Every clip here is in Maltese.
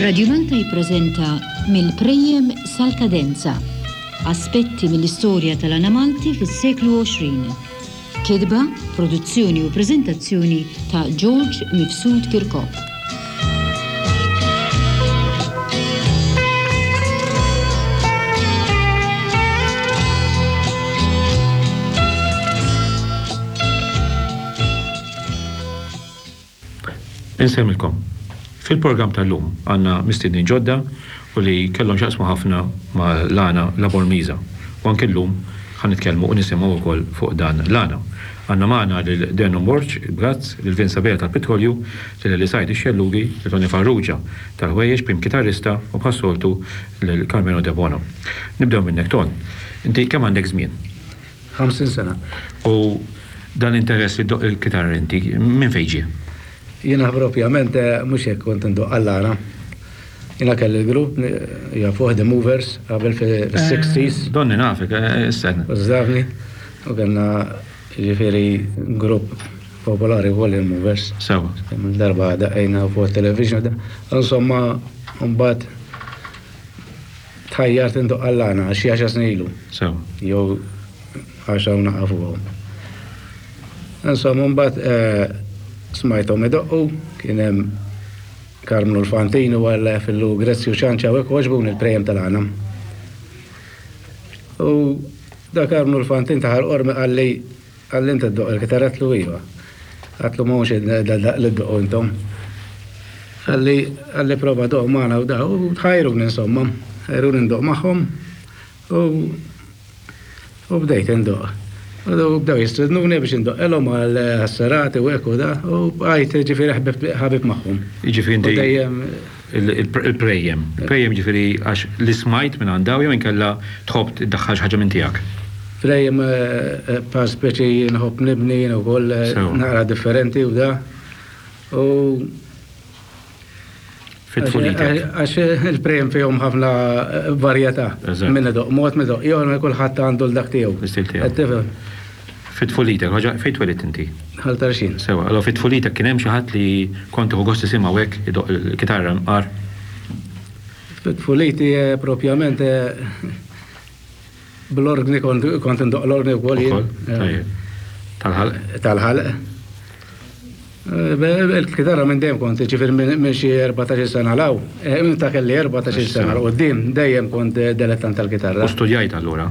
Radio Malta jippreżenta Mill-Prejjem sal-Kadenza, aspetti mill-istorja tal-għana Malti fis-seklu 20. Kitba, produzzjoni u preżentazzjoni ta' George Mifsud Kirkop. Insellmilkom. Fil-programm tal-lum għandna mistiednin ġodda u li kellhom x'jaqsmu ħafna ma' l-għana La Bormisa. U anke llum ħa nitkellmu u nisimgħu wkoll fuq dan l-għana. Għandna magħna lil Denon Borg, il-Brazz, lil Vince Abela tal-Pitrolju, lil Eli Said ix-Xellugi, lil Tony Farrugia tal-Ħwejjeġ, prim kitarrista, u bħas-soltu lil Karmenu Debono. Nibdew minnek Ton. Inti kemm għandek żmien? 50 sena. U dan l-interess li ddoqq il-kitarra inti, minn fejn ġie? Jiena propjament mhux hekk kont indoqq għall-għana. Jiena kelli l-grupp jafuh The Movers qabel fis-60s. Donni nafek, issa. Użdavni. U kellna ġifieri grupp popolari wkoll il-Movers. Sewa. Darba daqqejna fuq television. Insomma, mbagħad tħajjart indoqq għall-għana xi għaxar snin ilu. Sewa. Jew għaxar u naqa' fuqhom. Insomma, mbagħad smajthom idoqqu, kien hemm Karmnu l-Fantin u Alla jafillu Grezzju Ċanċa u hekk għoġbuni l-prejjem tal-għana. U da Karmnu l-Fantin ta' Ħal Qormi qalli qalli inti ddoqq il-kitarra għedtlu iva. Għedtlu mhux li ddoqqu intom. Qalli qalli prova doqq magħna u da u tħajruni insomma, ħajruni ndoqq magħhom u U bdejt indoqq. U bdew jistednuni biex indoqqilhom għal serati u hekk u da, u bqajt ġifieri ħabib magħhom. Jiġifieri inti. Dejjem. Il-prejjem. Il-prejjem ġifieri għax li smajt minn għand dawn jew inkella tħobb iddaħħal xi ħaġa minn tiegħek? Prejjem bħal speċi nħobb nibni jien ukoll naqra differenti u da. U Fit-tfulitek. Għax il-prem fihom ħafna varjetà. Min idoq mod, min idoq ieħor, kulħadd għandu l-dak tiegħu. L-istil tiegħu. Fit-tfulitek, fejn twelidt inti? Ħal Tarxien. Sewa, allura fit-tfulitek kien hemm xi ħadd li kont tieħu gost tisimgħu hekk idoq il-kitarra mqar? Fit-tfuliti propjament Bl-ordni kont indoq l-ordni wkoll jien. Tajjeb. Tal-ħalq? Tal-ħalq. Eh, il-kitarra minn dejjem kont, ġifier minn xi 14 sena law, eh, minn ta' kelli 14 sena l qudiem dejjem kont eh, dilettant tal-kitarra. U studjajt allura?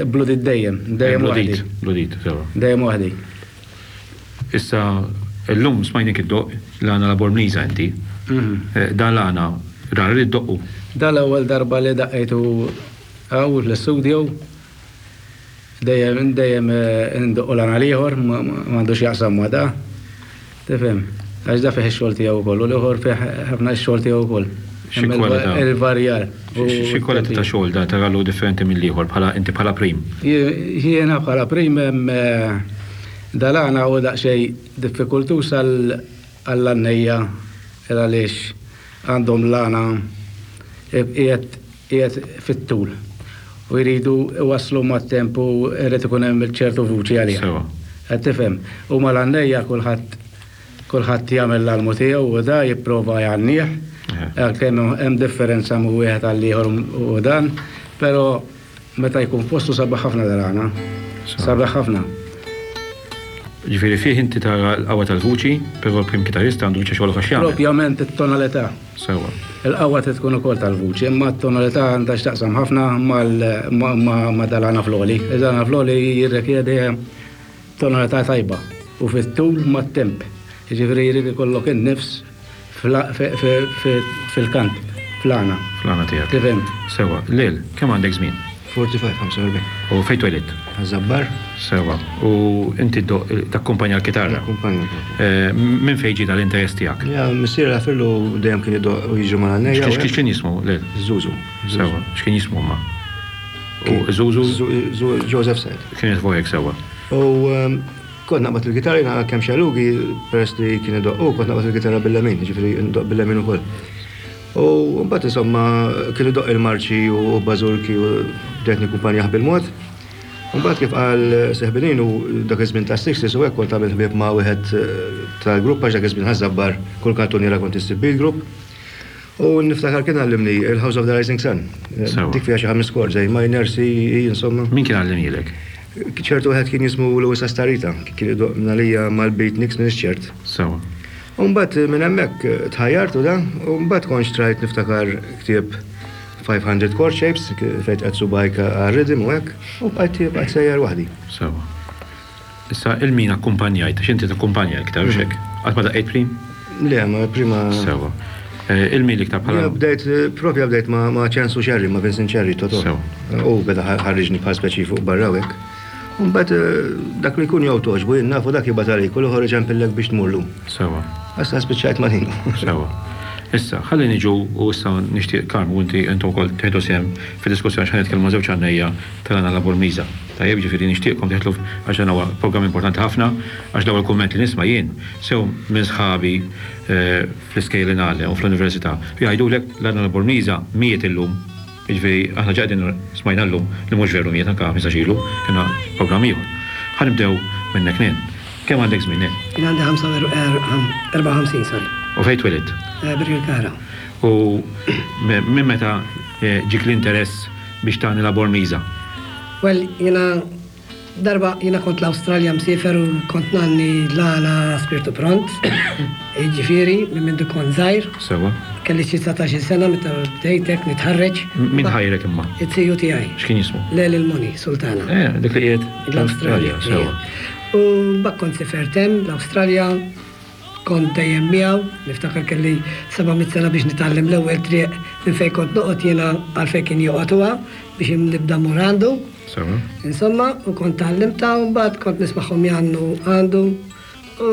Bludit dejjem, dejjem waħdi. Bludit, sewa. Dejjem waħdi. Issa, illum smajnik iddoqq l-għana la Bormliża inti. Mhm. Dan l-għana rari li ddoqqu. Dan l-ewwel darba li daqqejtu Hawn fl-istudio dejjem dejjem indoqqu l-għana l-ieħor m'għandu x'jaqsam ma' da. Tifhem? Għax da fih ix-xogħol tiegħu wkoll u l-ieħor fih ħafna x-xogħol tiegħu wkoll. Xi kwalità? Il-varjar. Xi kwalità ta' xogħol da taralu differenti mill-ieħor bħala inti bħala prim? Jiena bħala prim dal-għana hu daqsxejn diffikultuż għall-għannejja għaliex għandhom l-għana qiegħed qiegħed fit-tul u jridu iwasslu mat-temp u jrid ikun hemm ċertu vuċi għaliha. Sewa. Qed tifhem? U mal-għannejja kulħadd kulħadd jagħmel l-almu tiegħu u da jipprova jgħannih, għalkemm hemm differenza minn wieħed għal ieħor u dan, però meta jkun f'postu sabiħ ħafna dal-għana. Sabiħ ħafna. Ġifieri fih inti tara l-qawwa tal-vuċi, però l-prim kitarrista għandu biċċa xogħol oħra x'jagħmel. Propjament it-tonalità. Sewwa. Il-qawwa trid tkun ukoll tal-vuċi, imma t-tonalità għandha x'taqsam ħafna ma' dal-għana fl-għoli. Il-għana fl-għoli jirrikjedi tonalità tajba u fit-tul mat-temp. Jiġifieri jrid ikollok in-nifs fil-kant, fl-għana. Fl-għana tiegħek. Tifhem? Sewwa. Lil, kemm għandek żmien? 45, 45. U fejn twelidt? Ħaż-Żabbar. Sewwa. U inti ddoqq, takkumpanja l-kitarra? Nakkumpanja l-kitarra. Minn fejn ġie dan l-interess tiegħek? Ja, missieri għafirlu dejjem kien idoqq u jiġri mal-għannejja. X'kien jismu, Lil? Żużu. Sewwa. X'kien jismu imma? U Żużu? Joseph Said. Kien jismu hekk sewwa. U kont naqbad il-kitarra jiena kemm xelugi peress li kien idoqq hu, kont naqbad il-kitarra bil-lemin, jiġifieri ndoqq bil-lemin ukoll. U mbagħad insomma kien idoqq il-marċi u bażurki u bdejt nikkumpanjah bil-mod. U mbagħad kif qal Seħbinin u dak iż-żmien tas-sixties u hekk kont għamilt ħbieb ma' wieħed tal-grupp għax dak iż-żmien Ħaż-Żabbar kull kantuniera kont issib bil-grupp. U niftakar kien għallimni il-House of the Rising Sun. Dik fiha xi ħames chords, A minor, C, E, insomma. Min kien għallimhielek? Ċertu wieħed kien jismu Louis Astarita, kien idoqq minn mal-beatniks m'iniex ċert. Sewa. U mbagħad minn hemmhekk tħajjart u da, u mbagħad kont xtrajt niftakar ktieb 500 chord shapes fejn tqed subgħajk għar-rhythm u hekk, u bqajt bqajt sejjer waħdi. Sewa. Issa il min akkumpanjajt, għax inti takkumpanja iktar, hux hekk? Qatt ma daqqejt prim? Le, ma prima. Sewa. Eh, il min l-iktar bħala. Bdejt, propja bdejt ma' Ċensu Ċerri, ma' Vincent Ċerri, Toto. Sewa. U beda ħarriġni bħal speċi fuq barra hekk. Mbagħad eh, dak li jkun jew toġbu jien nafu dak jibgħat għalik u l-ieħor iġempillek biex tmurlu. Sewa. Issa spiċċajt ma' Nino. Sewa. Issa, ħalli niġu u issa nixtieq Karm u inti intom ukoll tieħdu sehem fid-diskussjoni x'ħa nitkellmu ma' żewġ għannejja tal-għana La Bormisa. Tajjeb, jiġifieri nixtieqkom tidħlu għax dan huwa programm importanti ħafna għax l-ewwel kumment li nisma' jien sew minn sħabi fl-iskejjel li ngħallem u fl-università li jgħidulek l-għana La Bormisa miet illum. Jiġifieri aħna ġa qegħdin smajna llum li mhux veru miet anke 15 ilu kellna programm ieħor. Ħa nibdew minnek Nen. Kemm għandek żmien Nen? Jien għandi 54 sorry. U fejn twelidt? Birkirkara. U minn meta ġiek l-interess biex tagħni la Bormliża? Well, jiena darba jiena kont l-Awstralja msiefer u kont ngħanni l-għana Spirtu Pront, jiġifieri minn mindu kont żgħir. Sewwa. Kelli xi 19-il sena meta bdejt hekk nitħarreġ. Min ħajrek imma? Iz-ziju tiegħi. X'kien jismu? Leli l-Moni, Sultana. Eh, dik li qiegħed l-Awstralja. Sewwa. U mbagħad kont sifert hemm l-Awstralja. Kont dejjem miegħu, niftakar kelli 700 sena biex nitgħallem l-ewwel triq minn fejn kont noqgħod jiena għal fejn kien joqgħod huwa biex nibda mmur għandu. Sewa. Insomma, u kont tgħallimtha u mbagħad kont nismagħhom jgħannu għandu u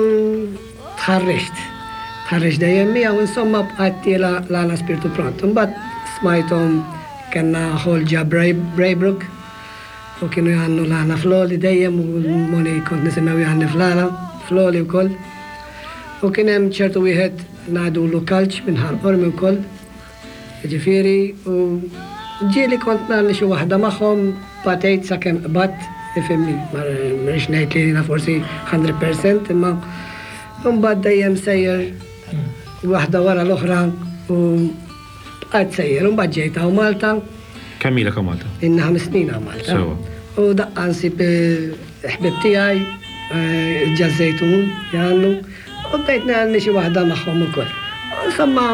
tħarriġt. Tħarriġt dejjem miegħu, insomma bqajt tiela' l-għana spirtu pront. Imbagħad smajthom kellna ħol ġa Braybrook U kienu jgħannu l-għana fl-għoli dejjem u l-Moni kont nisimgħu jgħanni fl-għana, fl-għoli wkoll. U kien hemm ċertu wieħed ngħidulu Kalċ minn Ħal Qormi wkoll. Jiġifieri u ġieli kont ngħanni xi waħda magħhom batejt sakemm qbadt, ifhimni, ma rridx ngħid li jiena forsi 100% imma mbagħad dejjem sejjer waħda wara l-oħra u Bqajt sejjer, u mbagħad ġejt hawn Malta. Kemm ilek hawn Malta? Ilni ħames snin hawn Malta. Sewa. U daqqa nsib ħbieb tiegħi ġa Żejtun jgħannu u bdejt ngħanni xi waħda magħhom ukoll. Insomma,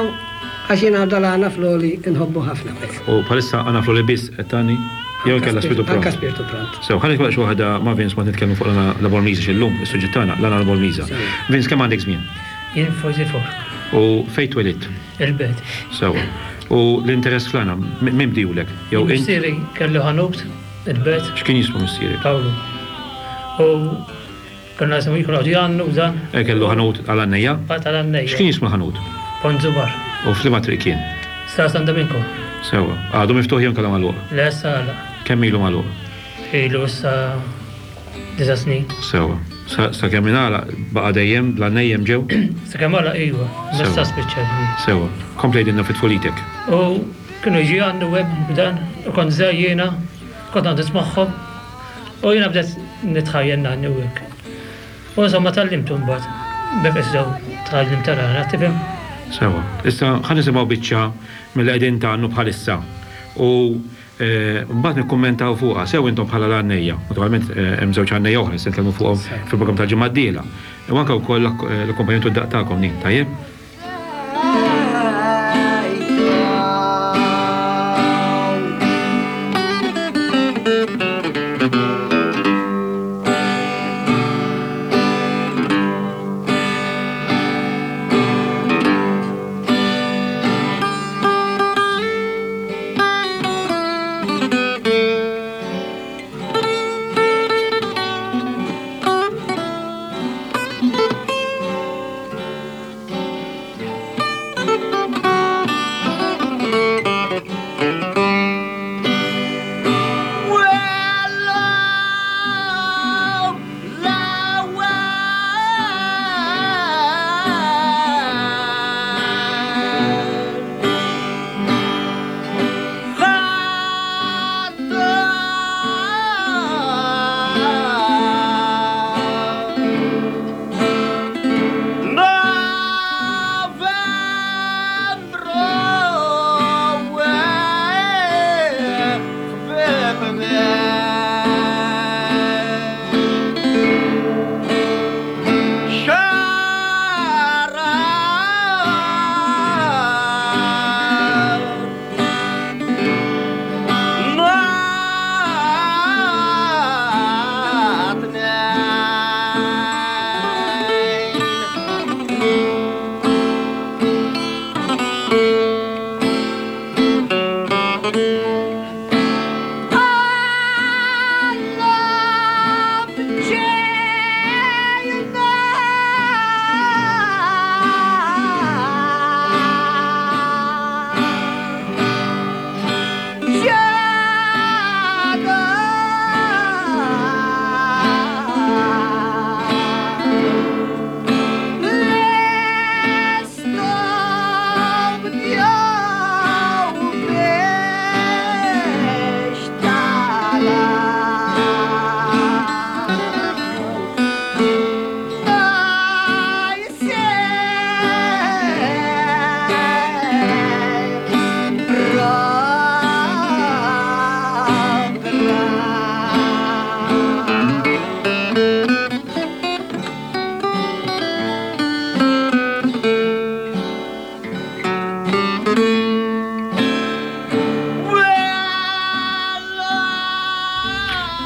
għax jiena dal-għana fl-għoli nħobbu ħafna. U bħalissa għana fl-għoli biss qed tgħanni? Jew inkella spirtu pront? Anka spirtu pront. Sew, ħa nitkellmu xi waħda ma' Vince waqt nitkellmu fuq l-għana la Bormliża x'illum is-suġġett tagħna l-għana la Bormliża. Vince kemm għandek żmien? Jien 44. U fejn twelidt? Il-belt. Sewwa. U l-interess fl-għana, min bdiehulek? Jew int? Missieri kellu ħanut il-belt. X'kien jismu missierek? Pawlu. U konna nisimgħu jkunu qogħdu jgħannu u dan. Eh, kellu ħanut għal-għannejja? Tal-għannejja. X'kien jismu l-ħanut? Ponzu Bar. U f'liema triq kien? Strada San Dominku. Sewwa. Għadu miftuħ jew inkella magħluq? Le, issa għalaq. Kemm ilu magħluq? Ilu issa Disa' snin. Sewwa. Sakemm ingħalaq baqa' dejjem bl-għannejjem ġew? Sakemm għalaq iva. Issa spiċċa. Sewwa. Kompli għidilna fi tfulitek. U kienu jiġu jgħannu hekk b'dan, u kont żgħir jiena, kont noqgħod nismagħhom. U jiena bdejt nitħajjel ngħanni u hekk. U insomma tgħallimtu mbagħad. B'hekk issa tgħallimt tal-għana, tifhem? Sewwa. Issa ħa nisimgħu biċċa milli qegħdin tgħannu bħalissa. U Mbagħad nikkummentaw fuqha, sew intom bħala l-għannejja, naturalment hemm żewġ għannejja oħra se nitkellmu fuqhom fil-programm tal-ġimgħa d-dieħla. U anke wkoll l-akkumpanjament u d-daqq tagħkom din, tajjeb?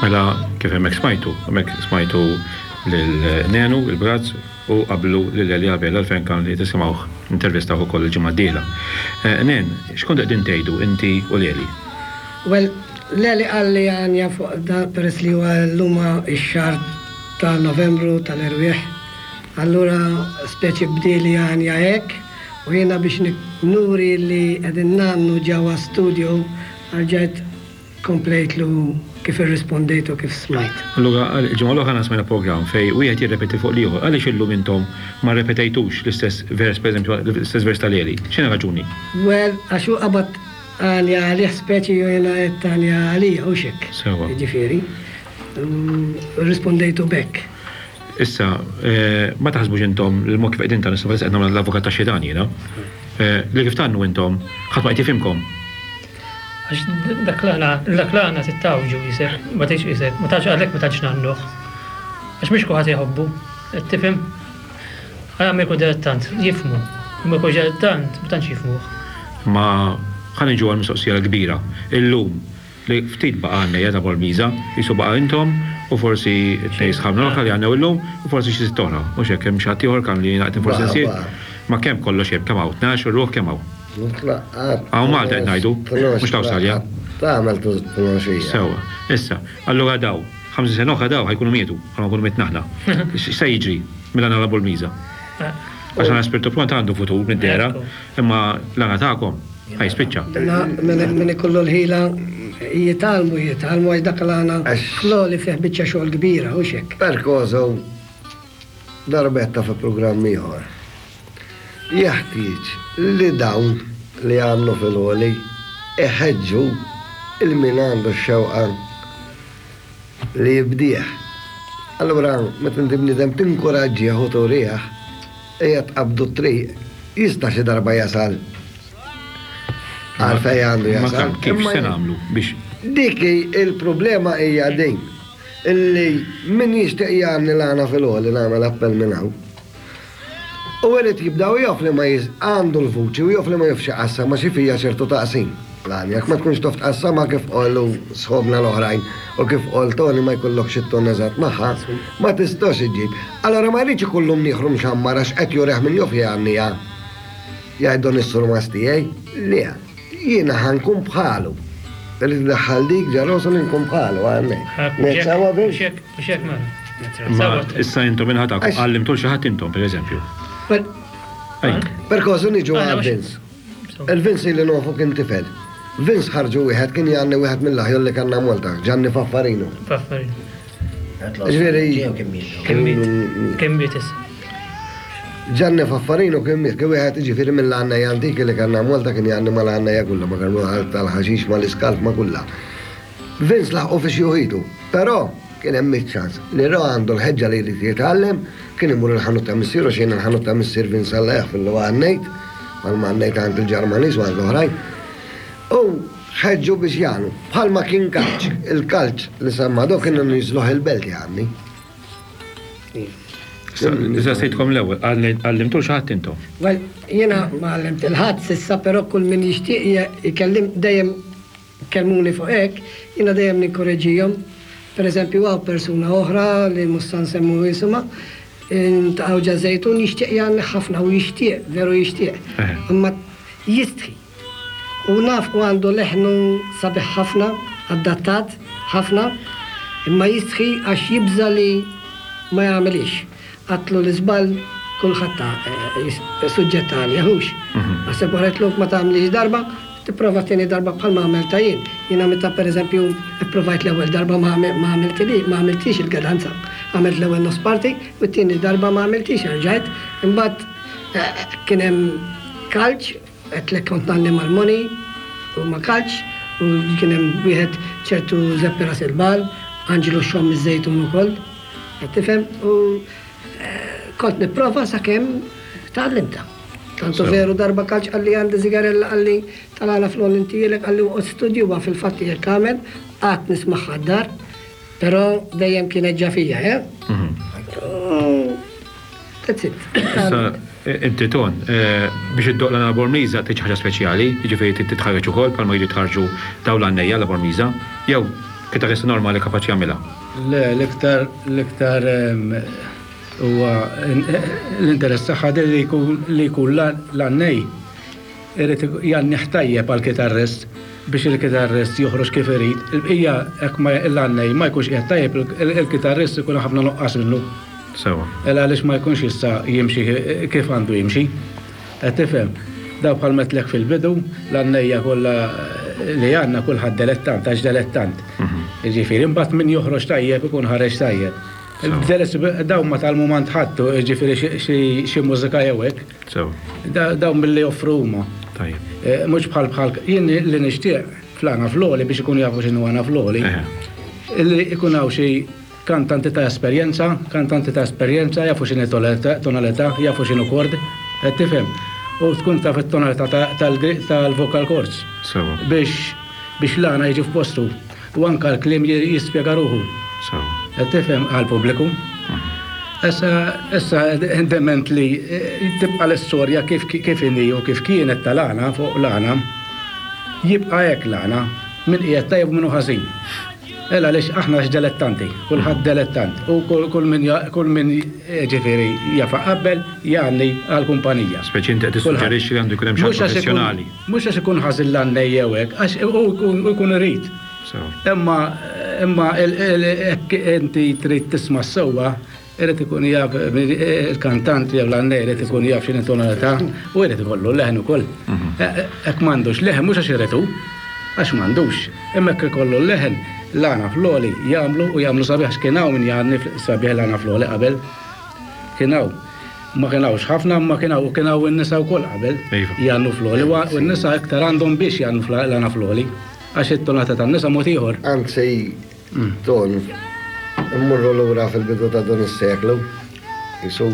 Mela kif hemmhekk smajtu, hemmhekk smajtu lil Nenu, il-Brazz, u qablu lil Elia Vella l-fejn kan li tisimgħuh intervistawh ukoll il-ġimgħa d-dieħla. Eh, Nen, x'kont qegħdin tgħidu inti u Leli? Well, Leli qalli għanja fuq da peress li huwa llum ix-xahar ta' Novembru tal-erwieħ. Allura speċi bdieli għanja hekk u jiena biex nuri li qegħdin ngħannu ġewwa studio rġajt komplejtlu kif irrispondejt u kif smajt. Allura il-ġimgħa l-oħra aħna smajna programm fejn wieħed jirrepeti fuq l-ieħor. Għaliex illum intom ma rrepetejtux l-istess vers pereżempju l-istess vers ta' Leli? X'inhi r-raġuni? Well, għax hu qabad għanja għalih speċi u jiena għedt għanja għalija, hux hekk? Sewwa. Jiġifieri, rrispondejtu b'hekk. Issa, ma taħsbux intom li l-mod kif qegħdin tgħannu, issa qed nagħmel l-avukat tax-xitan jiena, li kif tgħannu intom ħadd ma qed jifhimkom? Għax dak l-għana, dak l-għana tittawġu jisek, ma tgħidx isek, ma tantx għalhekk ma tantx ngħannuh. Għax mhux kulħadd jħobbu, qed tifhem? Għala ma jkun dilettant, jifhmu, ma jkunx dilettant, ma tantx jifhmuh. Ma ħa niġu għall-mistoqsija l-kbira. Illum, Li ftit baqa' għannejja ta' Bormiża, qisu baqa' intom u forsi t-tnejn sħabna l-oħra li għannew illum u forsi xi sitt oħra. Mhux hekk hemm xi ħadd ieħor kan li jiena qed forsi nsiet? Ma kemm kollox hemm, kemm hawn? 12 ruħ kemm hawn? Hawn Malta qed ngħidu, mhux l-Awstralja. Tagħmel tnoxija. Sewwa. Issa, allura daw, 50 sena oħra daw ħa jkunu mietu, bħalma nkunu mitna aħna. X'se jiġri mill-għana la Bormiża? Għax għana Spirtu Pront għandu futur mid-dehra, imma l-għana tagħkom. Ħa jispiċċa. Min ikollu l-ħila jitgħallmu, jitgħallmu għax dak l-għana fl-għoli fih biċċa xogħol kbira, hux hekk? Perkoso darbetta fi programm ieħor. Jeħtieġ li dawn li għannu fil-għoli iħeġġu il min għandu x-xewqa li jibdih. Allura meta inti bniedem tinkuraġġih u turih Ejja tqabbdu t-triq, jista' xi darba jasal għal fejn għandu jasal. Ma kif se nagħmlu biex. Dik hi il-problema hija din illi min jixtieq jgħanni l-għana fil-għoli nagħmel appell minn hawn. U irid jibda u jaf li ma għandu l-vuċi u jaf li ma jafx iqassam għax fija ċertu taqsim. L-għanja, jekk ma tkunx taf tqassamha kif qalu sħobna l-oħrajn u kif qal Tony ma jkollokx it-ton eżatt magħha, ma tistax iġġib. Allura ma jridx ikollu mnieħru mxammar għax qed jurih min jaf jgħanniha. Jgħid dan is-surmast tiegħi, le, jiena ħa nkun bħalu. Irrid indaħħal dik ġa rosu li nkun bħalu għalhekk. Ngħid sewwa Vince? Mhux hekk, mhux hekk mela. Ma issa intom inħatakom, għallimtu 'l xi ħadd intom, pereżempju. Per kosu niġu għal Vince. Il-Vince ili nafu kien tifel. Vince ħarġu wieħed kien jgħanni wieħed mill-aħjol li kellna Malta, Gianni Faffarino. Faffarino. Ġifieri. Kien miet. Kien miet issa. Gianni Faffarino kien miet, kien wieħed ġifieri mill-għannejja antiki li kellna Malta kien jgħanni mal-għannejja kollha, ma kienu tal-ħaxix, mal-iskalf, ma kollha. Vince laħqu fi xjuħitu, però kien hemm iċ-ċans li ra għandu l-ħeġġa li jrid jitgħallem, kien imur il-ħanut ta' missieru għax jien il-ħanut ta' missier Vince Alla jaħfirlu għannejt, bħalma għannejt għand il-Ġermaniż u għand l-oħrajn. U ħeġġu biex jagħnu. Bħalma kien kalċ, il-kalċ li semma do kienu niżluh il-belt jgħanni. Issa sejtkom l-ewwel, għallimtu xi ħadd intom? Well, jiena ma għallimt il-ħadd s'issa, però kull min jixtieq ikellim dejjem Kellmuni fuq hekk, jiena dejjem ninkoreġġihom. Per eżempju hawn persuna oħra li mhux sa nsemmu isimha, ta' Għawġa Żejtun jixtieq jgħanni ħafna u jixtieq, veru jixtieq. Imma jistħi. U naf u għandu leħnu sabiħ ħafna, adattat ħafna, imma jistħi għax jibża' li ma jagħmilhiex. Għadtlu l-iżball kulħadd suġġett għalih, hux? Naħseb wara għedtlu ma tagħmlix darba, tipprova t-tieni darba bħalma għamiltha jien. Jiena meta pereżempju pprovajt l-ewwel darba ma għamiltilix, ma għamiltix il-gadanza. Għamilt l-ewwel nofs parti u t-tieni darba ma għamiltix erġajt. Imbagħad kien hemm kalċ, għedtlek kont ngħanni mal-Moni u ma' kalċ u kien hemm wieħed ċertu Żeppi Ras il-Bagħal, Anġlu Xomm iż-Żejtun ukoll. Qed tifhem? U kont nipprova sakemm tgħallimtha. Tantu veru darba kalċ qalli għandi zigarella qalli tal-għala fl-għol intielek qalli uqgħod studjuha fil-fatt jekk għamel qatt nismagħha d-dar, però dejjem kienet ġa fija, eh? That's it. Issa, inti Ton, biex iddoqq l-għana Bormliża trid xi ħaġa speċjali, jiġifieri trid titħarreġ ukoll bħalma jridu jitħarrġu dawn l-għannejja la Bormliża, jew kitarrista normali kapaċi jagħmilha? Le, l-iktar l-iktar huwa l-interess tagħha li jkun li jkun l-għannej irid jgħannih tajjeb għall-kitarrist biex il-kitarrist joħroġ kif irid. Il-bqija hekk ma l-għannej ma jkunx qiegħed tajjeb il-kitarrist ikun ħafna nuqqas minnu. Sewa. El għaliex ma jkunx jista' jimxi kif għandu jimxi. Qed tifhem? Dawn bħal m'għedtlek fil-bidu, l-għannejja kollha li għandna kulħadd delettant għax delettant. Jiġifieri imbagħad min joħroġ tajjeb ikun ħareġ tajjeb. Dawn ma tgħallmu m'għand ħadd, jiġifieri xi mużika jew hekk. Dawn milli joffru huma. Mhux bħal bħal jien li nixtieq fl-għana fl-għoli biex ikunu jafu x'inhu għana fl-għoli. Illi ikun hawn xi Kantanti ta' esperjenza, kantanti ta' esperjenza jafu x'inhi tonalità, jafu x'inhu chord, qed tifhem? U tkun taf it-tonalità tal-vocal cords. Sewwa. Biex biex l-għana jiġi f'postu. U anke l-kliem jispjega ruħu. Sewwa. Qed tifhem? Għall-pubbliku. Issa, issa dement li tibqa' l-istorja kif kif inhi u kif kienet tal-għana fuq l-għana, jibqa' hekk l-għana, min qiegħed tajjeb u min hu ħażin. El għaliex aħna għax delettanti, kulħadd delettant u kull min kull min ġifieri jaf iqabbel jgħanni għall-kumpanija. Speċi inti qed tissuġġerixxi li għandu jkun hemm xi ħadd professjonali. Mhux għax ikun ħażin l-għannej jew hekk, għax hu jkun irid. Imma imma hekk inti trid tisma' s-sewwa Irid ikun jaf il-kantant jew l-għannej irid ikun jaf x'inhi tonalità u irid ikollu l-leħen ukoll. Hekk m'għandux leħen mhux għax irid hu, għax m'għandux. Imma hekk ikollu l-leħen, l-għana fl-għoli jagħmlu u jagħmlu sabiħ għax kien hawn min jgħanni sabiħ l-għana fl-għoli qabel. Kien hawn. Ma kien hawnx ħafna imma kien hawn u kien hawn in-nisa wkoll qabel jgħannu fl-għoli u n-nisa iktar għandhom biex jgħannu l-għana fl-għoli għax it-tonalità tan-nisa mod ieħor. Anzi, Ton, immorru lura fil-bidu ta' dan is-seklu, qisu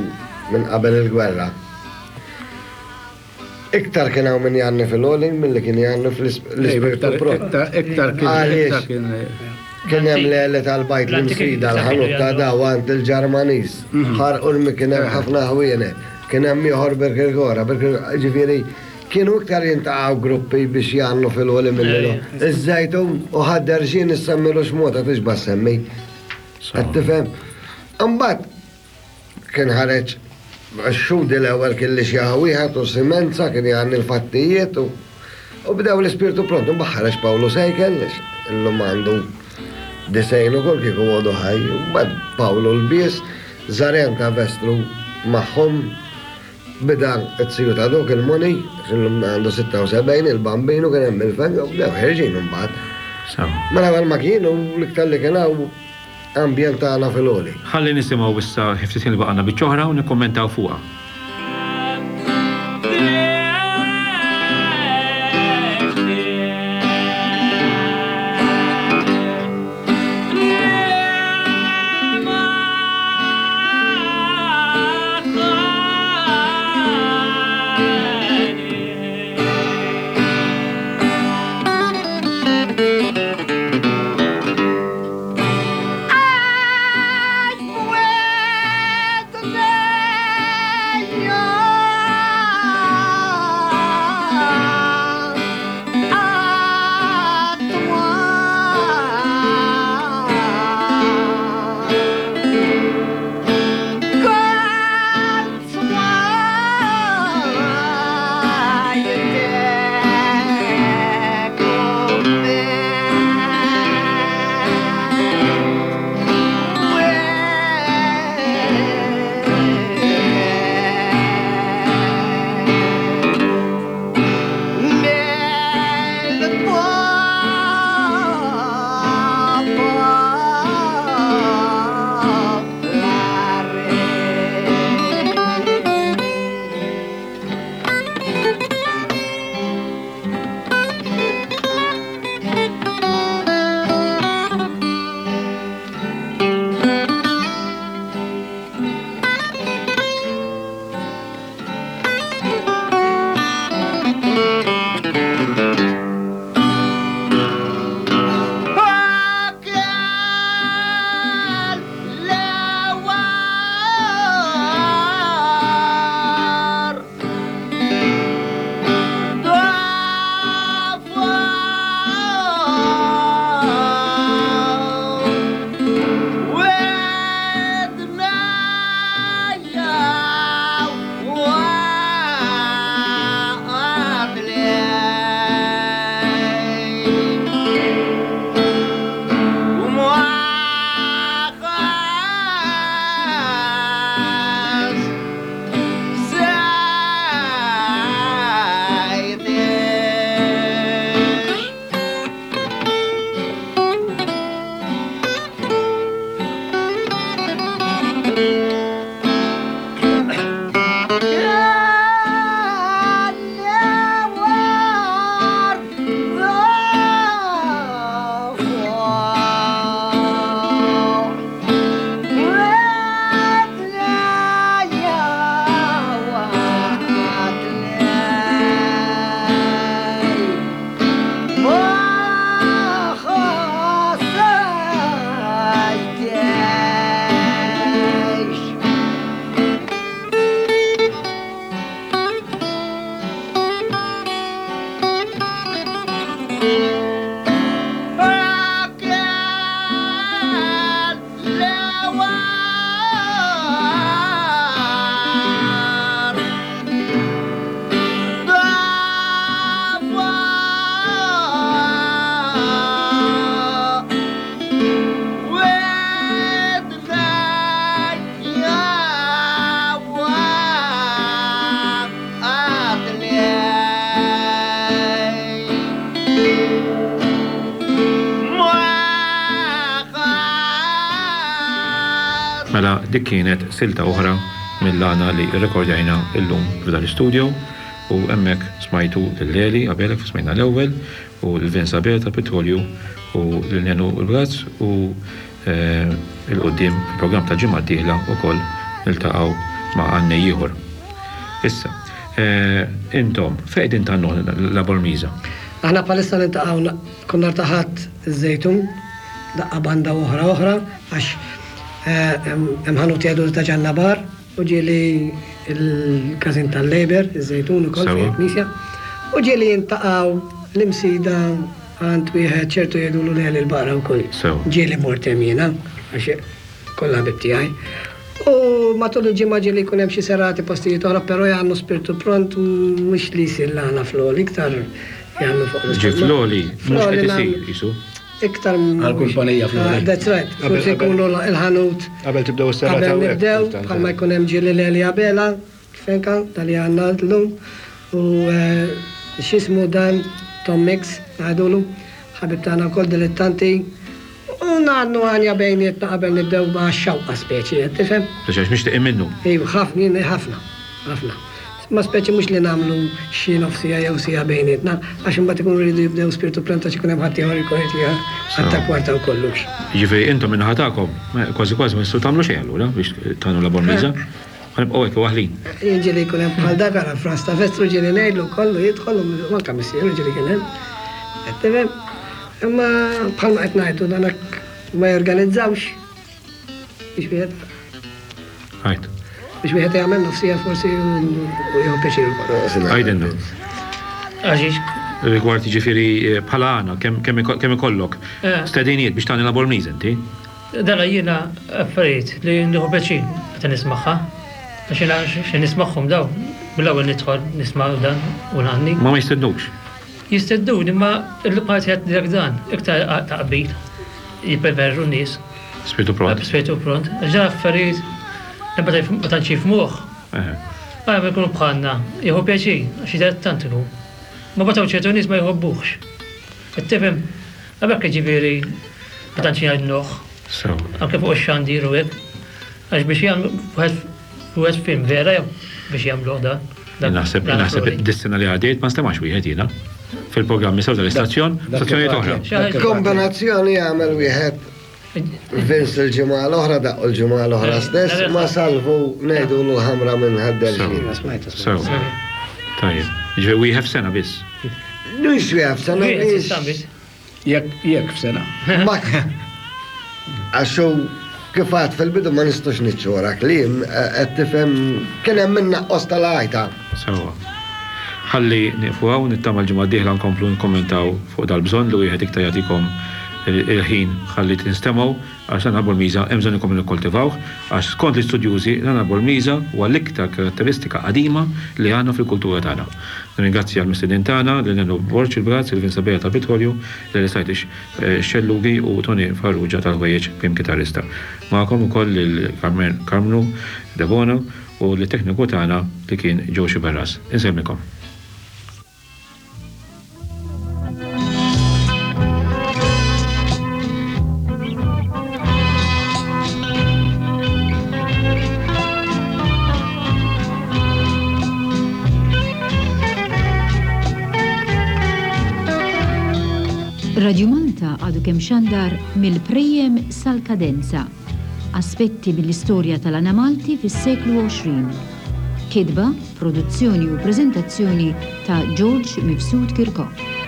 minn qabel il-gwerra. Iktar kien hawn min jgħanni fil-għoli milli kien jgħanni fl-ispirtu pront. Iktar kien. Għaliex kien hemm l-għeli tal-bajt l-imsida, l-ħanut ta' daw għand il-Ġermaniż. Ħar Urmi kien hemm ħafna ħwienet, kien hemm ieħor Birkirkora, ġifieri Kienu iktar jiltaqgħu gruppi biex jgħannu fil-għoli milli l Iż-Żejtun u Ħad-Derxien issemmilu x'mota tixba' ssemmi. Qed tifhem? Imbagħad kien ħareġ x-Xhudi l-ewwel kien li xi wieħed u Simenza kien jgħanni l-fattijiet u u bdew l-ispirtu pront. Imbagħad ħareġ Pawlu Sejkel illum għandu 90 ukoll kieku għodu ħaj. Imbagħad Pawlu l-Bies, Żaren ta' Vestru magħhom. Beda t-siju ta' dok il-Moni, għax illum għandu 76, il-Bambinu kien hemm il-Feng, u bdew ħerġin imbagħad. Mela qabel ma kienu l-iktar li kien hawn ambjent tagħna fil-għoli. Ħalli nisimgħu issa ftit ħin li baqgħalna biċċa oħra u nikkummentaw fuqha. Mela dik kienet silta oħra mill-għana li rrekordjajna illum f'dan l-istudio u hemmhekk smajtu lil Leli Abela kif smajna l-ewwel u lil Vince Abela tal-Petrolju u lil Nenu l-Brazz u 'l quddiem fil-programm tal-ġimgħa d-dieħla wkoll niltaqgħu ma' għannej ieħor. Issa, intom fejn qegħdin tgħannu La Bormisa? Aħna bħalissa niltaqgħu kull nhar ta' Ħadd iż-Żejtun, daqqa banda u oħra oħra għax hemm ħanut jgħidulu ta' Ġanna Bar u ġieli l-każin tal-Labour, iż-Żejtun ukoll fejn il-knisja, u ġieli jintaqgħu l-Imsida Għand wieħed ċertu jgħidulu Leli l-Baqra wkoll. Ġieli mort hemm jiena, għax kollha ħbieb tiegħi. U matul il-ġimgħa ġieli jkun hemm xi serati postijiet oħra, però jgħannu spirtu pront mhux li jsir l-għana fl-għoli, iktar jgħannu fuq l-. Ġifieri fl-għoli mhux qed isir qisu. Iktar. Għall-kumpanija fl-għoli. That's right. Forsi jkunu l-ħanut. Qabel tibdew is-serata. Qabel nibdew, bħalma jkun hemm ġieli Leli Abela. Fenka, ta' li għandna llum, u x'jismu dan Tom Mix, ngħidulu, ħabib tagħna wkoll dilettanti, u ngħannu għanja bejnietna qabel nibdew ma' xewqa speċi, qed tifhem? Speċi għax mixtieqin minnu. Iva, ħafna, jien ħafna, ħafna. Ma speċi mhux li nagħmlu xi nofs siegħa jew siegħa bejnietna, għax imbagħad ikunu jridu jibdew spirtu pront għax ikun hemm ħaddieħor li jkun irid jgħatta kwarta u kollox. Jiġifieri intom min-naħa tagħkom kważi kważi ma tistgħu tagħmlu xejn allura biex tgħannu la Bormliża? Ħa nibqgħu hekk waħlin. Jien ġieli jkun hemm bħal dak ara Frans ta' Vestru ġieli ngħidlu kollu jidħol u anke missieru ġieli kien hemm. Qed tifhem? Imma bħalma qed ngħidu dan hekk ma jorganizzawx biex wieħed. Għajt. Biex wieħed jagħmel nofsija forsi u jieħu pjaċir ukoll. Għajdilna. Għaxiex? Rigward jiġifieri bħala għana, kemm ikollok stedinijiet biex tagħni la Bormliż inti? Dana jiena affarijiet li nieħu pjaċir meta nismagħha. Għax jiena xi nismagħhom dawn, mill-ewwel nidħol nisma' dan u ngħanni. Ma ma jistednukx? Jistednuni imma l-parti qed ngħidlek dan, iktar taqbil jippreferu n-nies. Spiritu pront. Spiritu pront. Għax dan affarijiet li ma tantx jifhmuh. Ara ma jkunu bħalna, jieħu pjaċir għax dilettant ikun. Ma mbagħad hawn ċertu nies ma jħobbuhx. Qed tifhem? Għalhekk jiġifieri ma tantx jgħinuh. Sew. Anke fuq ix-xandir u hekk. Għax biex jagħmlu wieħed wieħed film vera jew biex jagħmluh dan. Naħseb naħseb dis-sena li għaddiet ma stemax wieħed jiena fil-programmi sew tal-istazzjon, stazzjonijiet oħra. Kombinazzjoni jagħmel wieħed Vince il-ġimgħa l-oħra daqqu l-ġimgħa l-oħra stess ma salvu ngħidu l-ħamra minn ħaddel. Sew. Tajjeb. Ġifieri wieħed f'sena biss. Mhux wieħed f'sena. Jekk jekk f'sena. Għax hu kif għad fil-bidu ma nistgħux niċċu kliem qed tifhem kien hemm min naqqos tal-għajta. Sewwa. Ħalli nieqfu hawn, nittama l-ġimgħa d-dieħla nkomplu nikkommentaw fuq dal-bżonn li wieħed iktar jagħtikom il-ħin ħalli tinstemgħu għax l-għana Bormiża hemm bżonn inkomplu nikkoltivawh għax skont l-istudjużi l-għana Bormiża huwa l-iktar karatteristika qadima li għandna fil-kultura tagħna. Nirringrazzja l-mistednin tagħna, lil Nenu Borg il-Brazz, lil Vince Abela tal-Petrolju, lil Esajtix Xellugi u Tony Farrugia tal-Ħwejjeġ Prim Kitarrista. Magħkom ukoll lil Karmnu Debono u lit-tekniku tagħna li kien Joe Sciberras. Insellmilkom. Radio Malta għadu kemm xandar mill-Prejjem sal-Kadenza. Aspetti mill-istorja tal-Għana Malti fis-seklu 20. Kitba, produzzjoni u preżentazzjoni ta' George Mifsud Kirkop.